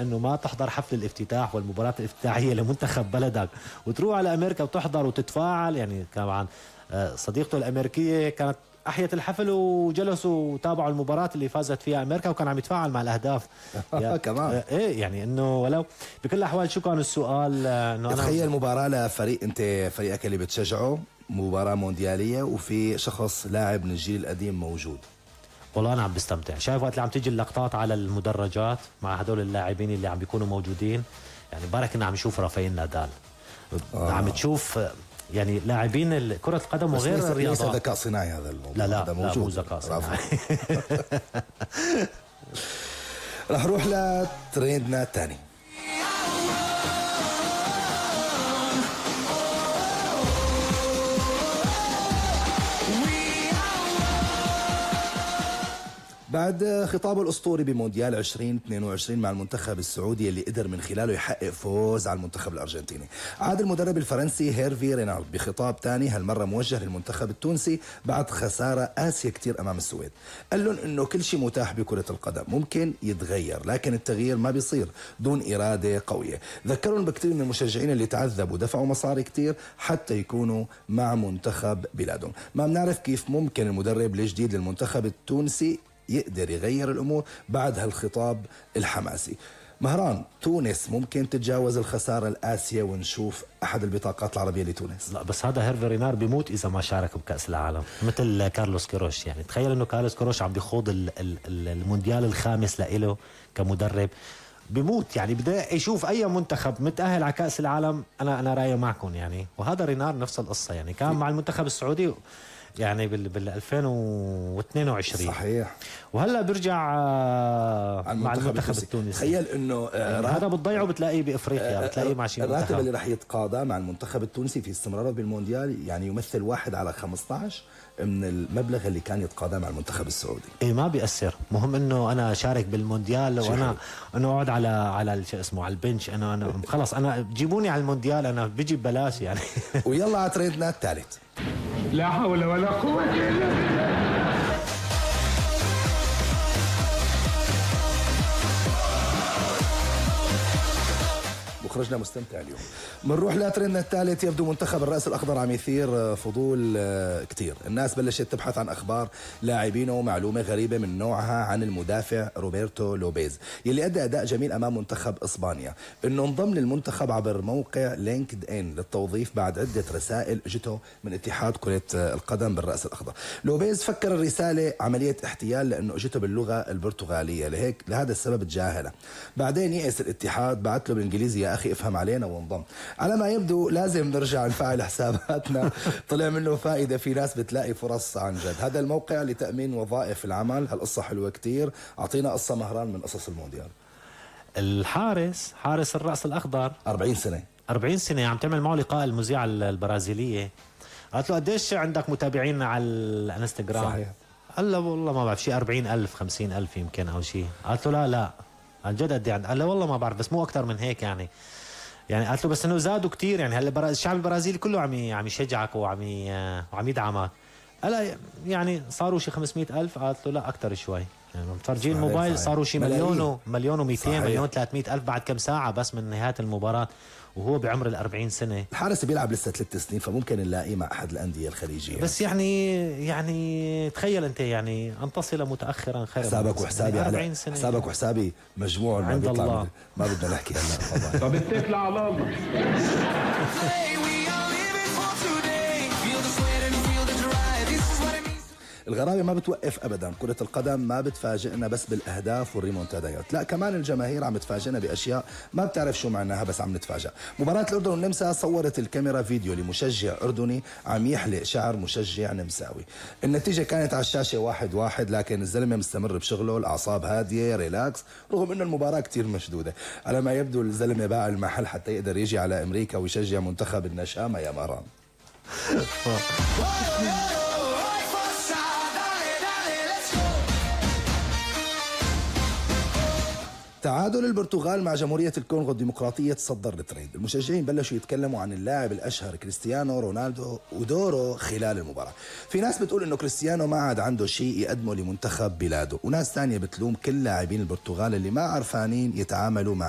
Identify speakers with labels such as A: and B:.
A: انه ما تحضر حفل الافتتاح والمباراة الافتتاحية لمنتخب بلدك وتروح على امريكا وتحضر وتتفاعل. يعني طبعا صديقته الامريكية كانت احيت الحفل وجلسوا وتابعوا المباراة اللي فازت فيها امريكا وكان عم يتفاعل مع الاهداف.
B: كمان
A: ايه يعني انه ولو بكل الاحوال شو كان السؤال؟ انه
B: تخيل مباراة لفريق انت فريقك اللي بتشجعه، مباراة مونديالية وفي شخص لاعب من الجيل القديم موجود.
A: والله انا عم بستمتع. شايف وقت اللي عم تيجي اللقطات على المدرجات مع هدول اللاعبين اللي عم بيكونوا موجودين، يعني بارك انه عم نشوف رافائيل نادال. عم تشوف يعني لاعبين كرة القدم وغير الرياضات.
B: ليس ذكاء صناعي هذا الموضوع.
A: لا موجود. لا مو ذكاء صناعي.
B: رح نروح لترندنا الثاني. بعد خطابه الأسطوري بمونديال 2022 مع المنتخب السعودي اللي قدر من خلاله يحقق فوز على المنتخب الأرجنتيني، عاد المدرب الفرنسي هيرفي رينارد بخطاب تاني هالمرة موجه للمنتخب التونسي بعد خسارة قاسية كتير أمام السويد. قال لهم إنه كل شيء متاح بكرة القدم، ممكن يتغير لكن التغيير ما بيصير دون إرادة قوية. ذكرهم بكتير من المشجعين اللي تعذبوا ودفعوا مصاري كتير حتى يكونوا مع منتخب بلادهم. ما بنعرف كيف ممكن المدرب الجديد للمنتخب التونسي يقدر يغير الأمور بعد هالخطاب الحماسي. مهران، تونس ممكن تتجاوز الخسارة القاسية ونشوف أحد البطاقات العربية لتونس؟
A: لا بس هذا هيرفي رينار بيموت إذا ما شارك بكأس العالم مثل كارلوس كيروش. يعني تخيل إنه كارلوس كيروش عم بيخوض المونديال الخامس لإله كمدرب، بيموت. يعني بدي يشوف أي منتخب متأهل على كأس العالم أنا رايي معكم يعني. وهذا رينار نفس القصة، يعني كان مع المنتخب السعودي يعني بال 2022
B: صحيح،
A: وهلا بيرجع مع المنتخب التونسي.
B: تخيل انه
A: يعني هذا بتضيعه بتلاقيه بافريقيا، بتلاقيه مع شي منتخب.
B: الراتب اللي راح يتقاضى مع المنتخب التونسي في استمراره بالمونديال يعني يمثل 1 على 15 من المبلغ اللي كان يتقاضى مع المنتخب السعودي.
A: ايه ما بيأثر، مهم انه انا شارك بالمونديال وانا اقعد على شو اسمه على البنش. انا خلص انا جيبوني على المونديال انا بيجي ببلاش يعني.
B: ويلا على ترندنا الثالث.
C: لا حول ولا قوة إلا بالله.
B: مخرجنا مستمتع اليوم. بنروح لترندنا الثالث. يبدو منتخب الرأس الأخضر عم يثير فضول كتير. الناس بلشت تبحث عن أخبار لاعبينه ومعلومة غريبة من نوعها عن المدافع روبرتو لوبيز يلي أدى أداء جميل أمام منتخب إسبانيا. إنه انضم للمنتخب عبر موقع لينكد إن للتوظيف بعد عدة رسائل جته من اتحاد كرة القدم بالرأس الأخضر. لوبيز فكر الرسالة عملية احتيال لأنه جته باللغة البرتغالية، لهذا السبب تجاهله. بعدين يئس الاتحاد، بعت له بالإنجليزي يا أخي افهم علينا وانضم. على ما يبدو لازم نرجع نفعل حساباتنا. طلع منه فائدة، في ناس بتلاقي فرص عن جد. هذا الموقع لتأمين وظائف العمل. هالقصة حلوة كتير. أعطينا قصة مهران من قصص المونديال.
A: حارس الرأس الأخضر 40 سنة عم تعمل معه لقاء المذيعة البرازيلية. قالت له قديش عندك متابعين على الانستغرام؟
B: صحيح.
A: قال له والله ما بعرف، شيء 40,000 50,000 يمكن أو شيء. قالت له لا عن جد قد ايه؟ قال له والله ما بعرف بس مو أكتر من هيك يعني قالت له بس انه زادوا كتير يعني هلا الشعب البرازيلي كله عم يشجعك وعم يدعمك. قال يعني صاروا شي 500,000. قالت له لا اكتر شوي، يعني متفرجين الموبايل صاروا شي مليون و200 مليون 300 ألف بعد كم ساعة بس من نهاية المباراة، وهو بعمر 40 سنة.
B: الحارس بيلعب لسه 3 سنين فممكن نلاقيه مع أحد الأندية الخليجية.
A: بس يعني تخيل أنت يعني أن تصل متأخرا خير.
B: حسابك وحسابي
A: 40 سنة
B: حسابك وحسابي مجموع
A: عند الله.
B: ما بدنا نحكي هلا.
C: طب اتكل على الله.
B: الغرابة ما بتوقف أبدا. كرة القدم ما بتفاجئنا بس بالأهداف والريمونتادايات، لا كمان الجماهير عم تفاجئنا بأشياء ما بتعرف شو معناها بس عم نتفاجأ. مباراة الأردن والنمسا صورت الكاميرا فيديو لمشجع أردني عم يحلق شعر مشجع نمساوي. النتيجة كانت على الشاشة 1-1 لكن الزلمة مستمر بشغله، الأعصاب هادية ريلاكس رغم إنه المباراة كتير مشدودة. على ما يبدو الزلمة باع المحل حتى يقدر يجي على أمريكا ويشجع منتخب النشامة يا مهران. تعادل البرتغال مع جمهورية الكونغو الديمقراطية تصدر الترند. المشجعين بلشوا يتكلموا عن اللاعب الأشهر كريستيانو رونالدو ودوره خلال المباراة. في ناس بتقول إنه كريستيانو ما عاد عنده شيء يقدمه لمنتخب بلاده، وناس تانية بتلوم كل لاعبين البرتغال اللي ما عرفانين يتعاملوا مع